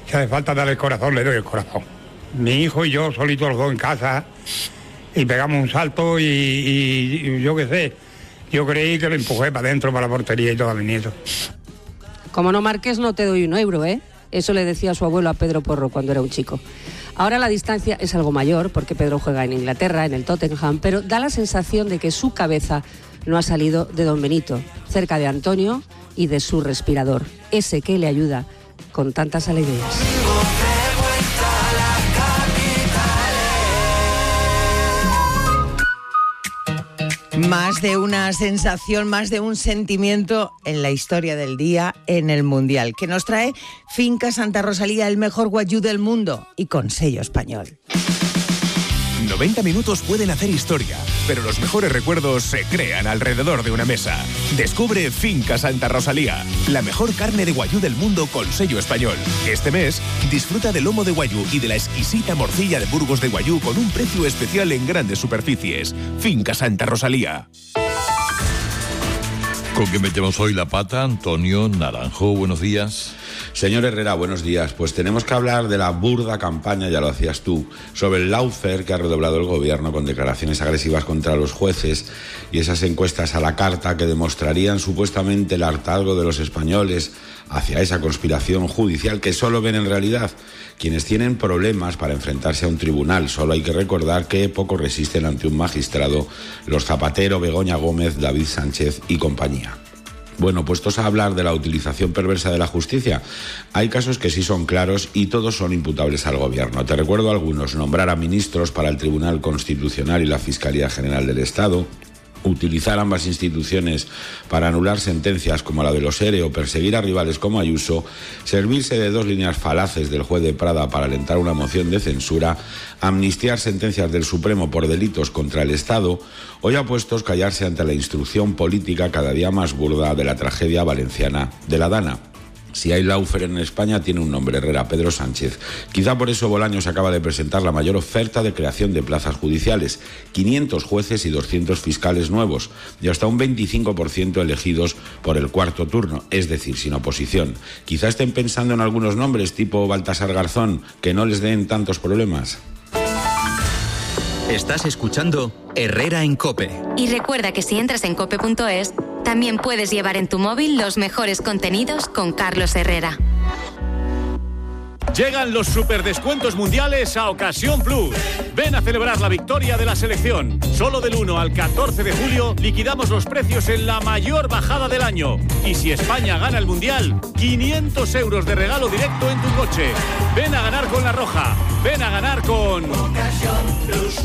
Si hace falta darle el corazón, le doy el corazón. Mi hijo y yo, solitos los dos en casa, y pegamos un salto y yo qué sé, yo creí que lo empujé para adentro, para la portería y todo a mi nieto. Como no marques, no te doy €1, ¿eh? Eso le decía su abuelo a Pedro Porro cuando era un chico. Ahora la distancia es algo mayor, porque Pedro juega en Inglaterra, en el Tottenham, pero da la sensación de que su cabeza no ha salido de don Benito, cerca de Antonio y de su respirador, ese que le ayuda con tantas alegrías. Más de una sensación, más de un sentimiento en la historia del día en el Mundial, que nos trae Finca Santa Rosalía, el mejor guayú del mundo y con sello español. 90 minutos pueden hacer historia, pero los mejores recuerdos se crean alrededor de una mesa. Descubre Finca Santa Rosalía, la mejor carne de guayú del mundo con sello español. Este mes, disfruta del lomo de guayú y de la exquisita morcilla de Burgos de guayú con un precio especial en grandes superficies. Finca Santa Rosalía. ¿Con qué metemos hoy la pata? Antonio Naranjo, buenos días. Señor Herrera, buenos días. Pues tenemos que hablar de la burda campaña, ya lo hacías tú, sobre el lawfare que ha redoblado el gobierno con declaraciones agresivas contra los jueces y esas encuestas a la carta que demostrarían supuestamente el hartazgo de los españoles hacia esa conspiración judicial que solo ven en realidad quienes tienen problemas para enfrentarse a un tribunal. Solo hay que recordar que poco resisten ante un magistrado los Zapatero, Begoña Gómez, David Sánchez y compañía. Bueno, puestos a hablar de la utilización perversa de la justicia, hay casos que sí son claros y todos son imputables al gobierno. Te recuerdo algunos: nombrar a ministros para el Tribunal Constitucional y la Fiscalía General del Estado, utilizar ambas instituciones para anular sentencias como la de los ERE o perseguir a rivales como Ayuso, servirse de dos líneas falaces del juez de Prada para alentar una moción de censura, amnistiar sentencias del Supremo por delitos contra el Estado o, ya puestos, callarse ante la instrucción política cada día más burda de la tragedia valenciana de la Dana. Si hay lawfare en España, tiene un nombre: Herrera, Pedro Sánchez. Quizá por eso Bolaños acaba de presentar la mayor oferta de creación de plazas judiciales: 500 jueces y 200 fiscales nuevos, y hasta un 25% elegidos por el cuarto turno, es decir, sin oposición. Quizá estén pensando en algunos nombres tipo Baltasar Garzón, que no les den tantos problemas. Estás escuchando Herrera en COPE. Y recuerda que si entras en cope.es, también puedes llevar en tu móvil los mejores contenidos con Carlos Herrera. Llegan los superdescuentos mundiales a Ocasión Plus. Ven a celebrar la victoria de la selección. Solo del 1 al 14 de julio liquidamos los precios en la mayor bajada del año. Y si España gana el mundial, 500 euros de regalo directo en tu coche. Ven a ganar con La Roja. Ven a ganar con Ocasión Plus.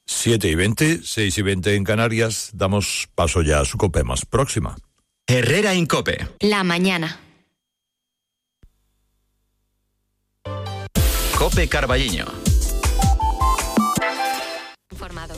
7:20, 6:20 en Canarias. Damos paso ya a su COPE más próxima. Herrera en COPE. La mañana. COPE Carballiño. Informado.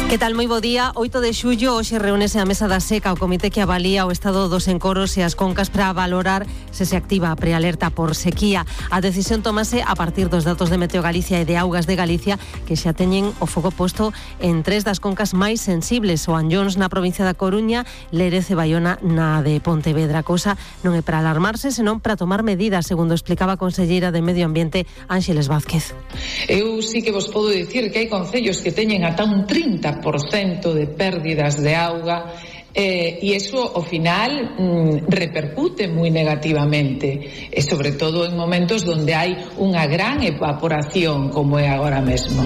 Que tal, moi bo día. 8 de xullo, hoxe reúnese a mesa da seca o comité que avalía o estado dos encoros e as concas para valorar se activa a prealerta por sequía. A decisión tomase a partir dos datos de Meteo Galicia e de Augas de Galicia, que xa teñen o foco posto en 3 das concas máis sensibles: o Anllóns na provincia da Coruña, Lérez e Baiona na de Pontevedra. A cousa non é para alarmarse, senón para tomar medidas, segundo explicaba a conselleira de Medio Ambiente, Ángeles Vázquez. Eu sí que vos podo dicir que hai concellos que teñen ata un 30% de pérdidas de auga e iso ao final repercute moi negativamente, e sobre todo en momentos onde hai unha gran evaporación como é agora mesmo.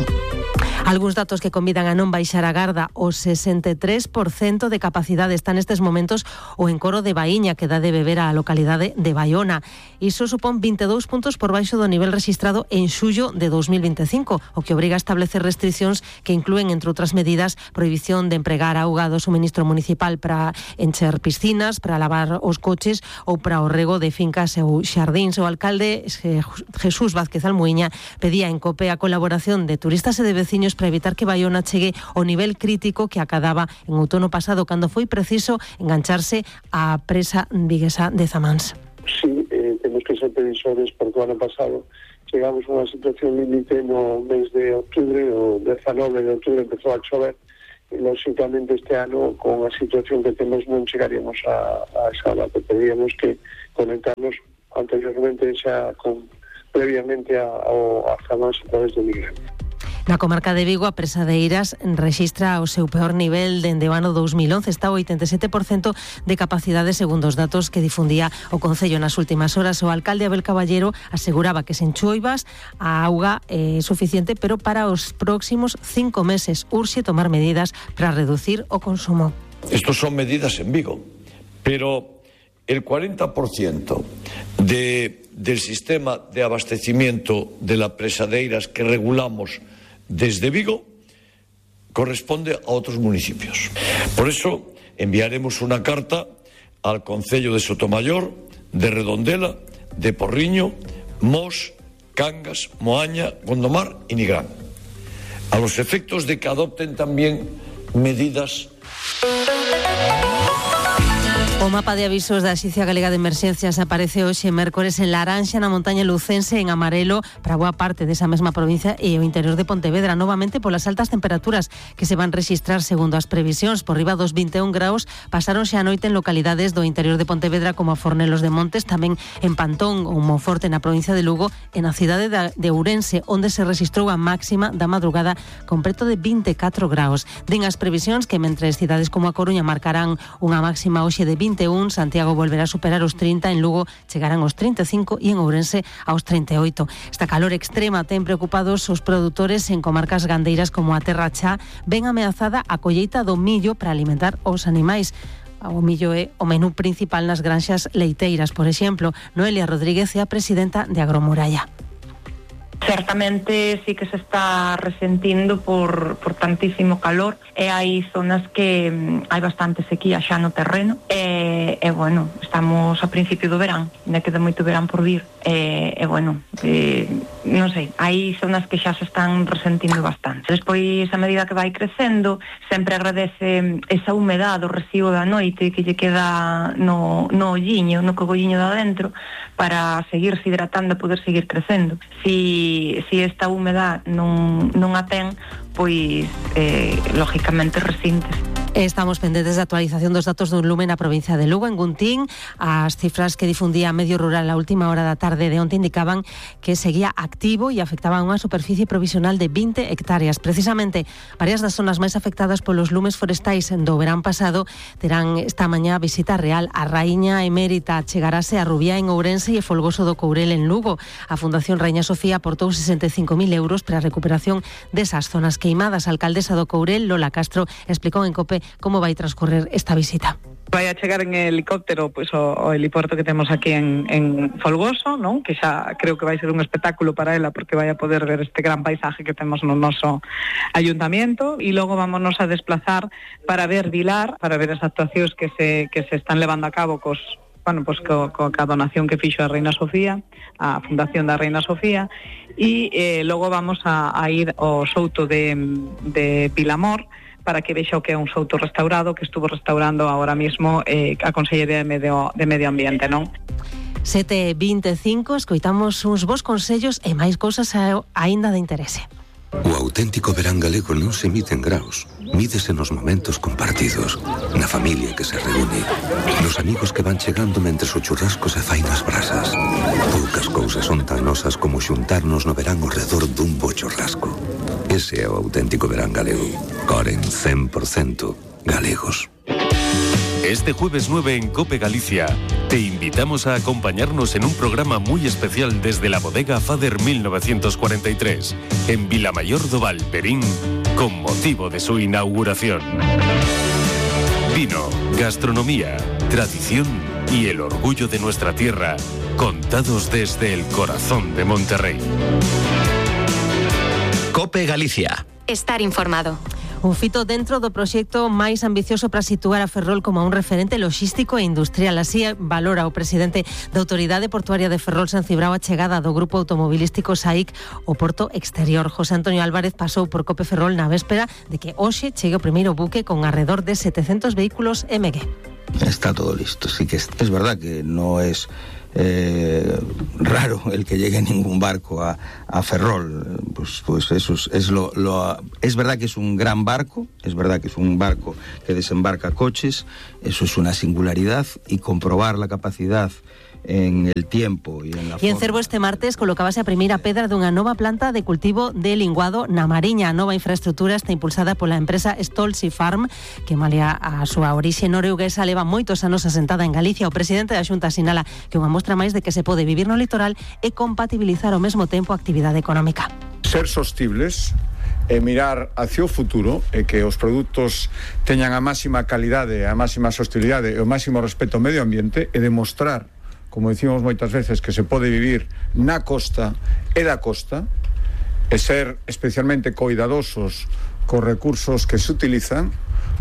Algúns datos que convidan a non baixar a garda: o 63% de capacidade está nestes momentos o encoro de Baíña, que dá de beber á localidade de Baiona. Iso supón 22 puntos por baixo do nivel rexistrado en xullo de 2025, o que obriga a establecer restriccións que inclúen, entre outras medidas, prohibición de empregar auga do suministro municipal para encher piscinas, para lavar os coches ou para o rego de fincas ou xardíns. O alcalde Jesús Vázquez Almuiña pedía en COPE a colaboración de turistas e de veciños para evitar que Baiona chegue ao nivel crítico que acadaba en outono pasado, cando foi preciso engancharse á presa viguesa de Zamáns. Sí, temos que ser previsores, porque o ano pasado chegamos a unha situación límite no mes de outubro, o 19 de outubro empezou a chover, e lógicamente este ano, con a situación que temos, non chegaríamos a esa data. Teríamos que conectarnos anteriormente previamente a famosa a través do Miguel. Na comarca de Vigo, a presa de Eiras rexistra o seu peor nivel dende o ano 2011. Está o 87% de capacidade segundo os datos que difundía o Concello nas últimas horas. O alcalde Abel Caballero aseguraba que sen choivas a auga é suficiente, pero para os próximos 5 meses urxe tomar medidas para reducir o consumo. Estos son medidas en Vigo, pero el 40% del sistema de abastecimiento de la presa de Eiras que regulamos desde Vigo corresponde a otros municipios. Por eso enviaremos una carta al Concello de Sotomayor, de Redondela, de Porriño, Mos, Cangas, Moaña, Gondomar y Nigrán, a los efectos de que adopten también medidas. O mapa de avisos da Axencia Galega de Emerxencias aparece hoxe mércores en laranxa na montaña lucense, en amarelo para boa parte desa mesma provincia e o interior de Pontevedra, novamente polas altas temperaturas que se van registrar segundo as previsións. Por riba dos 21 graus pasaron xa a noite en localidades do interior de Pontevedra como a Fornelos de Montes, tamén en Pantón ou Monforte na provincia de Lugo e na cidade de Ourense, onde se registrou a máxima da madrugada con preto de 24 graus. Din as previsións que mentres cidades como a Coruña marcarán unha máxima hoxe de 21, Santiago volverá a superar os 30, en Lugo chegarán aos 35 e en Ourense aos 38. Esta calor extrema ten preocupados os produtores en comarcas gandeiras como a Terra Chá. Ven ameazada a colleita do millo para alimentar os animais. O millo é o menú principal nas granxas leiteiras, por exemplo. Noelia Rodríguez é a presidenta de Agromuralla. Certamente sí que se está resentindo por tantísimo calor e hai zonas que hai bastante sequía xa no terreno e bueno, estamos a principio do verán, ainda queda moito verán por vir bueno, non sei, hai zonas que xa se están resentindo bastante. Despois, a medida que vai crecendo, sempre agradece esa humedade, o recibo da noite que lle queda no olliño, no cogolliño de adentro, para seguirse hidratando e poder seguir crecendo. Si esta humedad non a ten, pois lógicamente resintes. Estamos pendentes de actualización dos datos dun lume na provincia de Lugo, en Guntín. As cifras que difundía Medio Rural a última hora da tarde de onte indicaban que seguía activo e afectaba a unha superficie provisional de 20 hectáreas. Precisamente, varias das zonas máis afectadas polos lumes forestais do verán pasado terán esta mañá visita real. A Raíña Emérita chegarase a Rubiá en Ourense e Folgoso do Courel en Lugo. A Fundación Raíña Sofía aportou 65.000 euros para a recuperación desas zonas queimadas. A alcaldesa do Courel, Lola Castro, explicou en COPE como vai transcorrer esta visita. Vai a chegar en helicóptero pois o heliporto que temos aquí en Folgoso, non? Que xa creo que vai ser un espectáculo para ela porque vai a poder ver este gran paisaje que temos no noso ayuntamiento e logo vámonos a desplazar para ver Vilar, para ver as actuacións que se están levando a cabo coa donación que fixo a Reina Sofía, a Fundación da Reina Sofía, e logo vamos a ir ao souto de Pilamor para que vexa o que é un souto restaurado que estuvo restaurando agora mismo a Consellería de Medio Ambiente, non? 7:25, escoitamos uns bons consellos e máis cousas aínda de interese. O auténtico verán galego non se mide en graus, mídese nos momentos compartidos, na familia que se reúne, nos amigos que van chegando mentres o churrasco se fai nas brasas. Poucas cousas son tan nosas como xuntarnos no verán ao redor dun bo churrasco. Ese é o auténtico verán galego. Coren 100% galegos. Este jueves 9 en COPE Galicia te invitamos a acompañarnos en un programa muy especial desde la bodega Fader 1943 en Vilamayor do Val, Perín, con motivo de su inauguración. Vino, gastronomía, tradición y el orgullo de nuestra tierra, contados desde el corazón de Monterrey. COPE Galicia. Estar informado. Un fito dentro do proxecto máis ambicioso para situar a Ferrol como un referente logístico e industrial. Así valora o presidente da Autoridade Portuaria de Ferrol, San Cibrao, a chegada do grupo automobilístico SAIC ao porto exterior. José Antonio Álvarez pasou por COPE Ferrol na véspera de que hoxe chegue o primeiro buque con alrededor de 700 vehículos MG. Está todo listo. Sí que es verdad que no es raro el que llegue ningún barco a Ferrol, pues eso es verdad que es un gran barco, es verdad que es un barco que desembarca coches, eso es una singularidad, y comprobar la capacidad en el tiempo e en la E en Cervo este martes colocábase a primeira pedra dunha nova planta de cultivo de linguado na Mariña. A nova infraestrutura está impulsada pola empresa Stolzi Farm, que malia a súa orixe norueguesa leva moitos anos asentada en Galicia. O presidente da Xunta sinala que unha mostra máis de que se pode vivir no litoral e compatibilizar ao mesmo tempo a actividade económica. Ser sostibles e mirar hacia o futuro e que os produtos teñan a máxima calidade, a máxima sostenibilidade e o máximo respeto ao medio ambiente e demostrar, como dicimos moitas veces, que se pode vivir na costa e da costa e ser especialmente coidadosos cos recursos que se utilizan,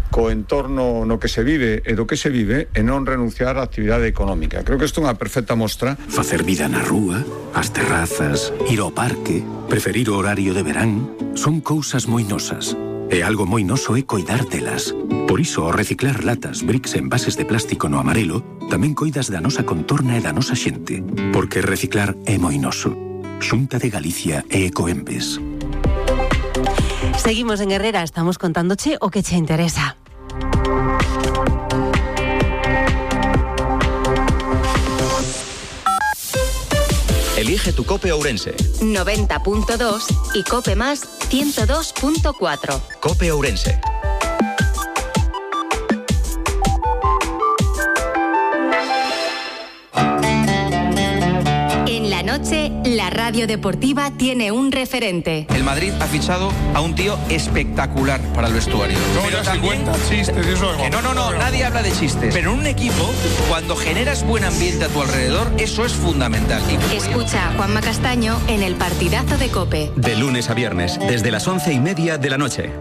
co entorno no que se vive e do que se vive e non renunciar á actividade económica. Creo que isto é unha perfecta mostra. Facer vida na rúa, as terrazas, ir ao parque, preferir o horario de verán, son cousas moi nosas. E algo moi noso é coidar delas. Por iso, ao reciclar latas, bricks e envases de plástico no amarelo, tamén coidas da nosa contorna e da nosa xente. Porque reciclar é moi noso. Xunta de Galicia e Ecoembes. Seguimos en Herrera, estamos contándoche o que che interesa. Elige tu Cope Ourense. 90.2 y Cope Más 102.4. Cope Ourense. En la noche, la radio deportiva tiene un referente. El Madrid ha fichado a un tío espectacular para el vestuario. Pero también chistes, eso es no, nadie habla de chistes. Pero en un equipo, cuando generas buen ambiente a tu alrededor, eso es fundamental. Escucha a Juanma Castaño en el partidazo de COPE. De lunes a viernes, desde las 11:30 de la noche.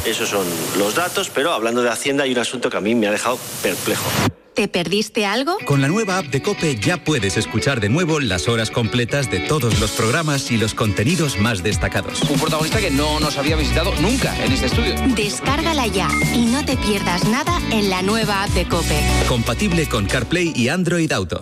Esos son los datos, pero hablando de Hacienda hay un asunto que a mí me ha dejado perplejo. ¿Te perdiste algo? Con la nueva app de COPE ya puedes escuchar de nuevo las horas completas de todos los programas y los contenidos más destacados. Un protagonista que no nos había visitado nunca en este estudio. Descárgala ya y no te pierdas nada en la nueva app de COPE. Compatible con CarPlay y Android Auto.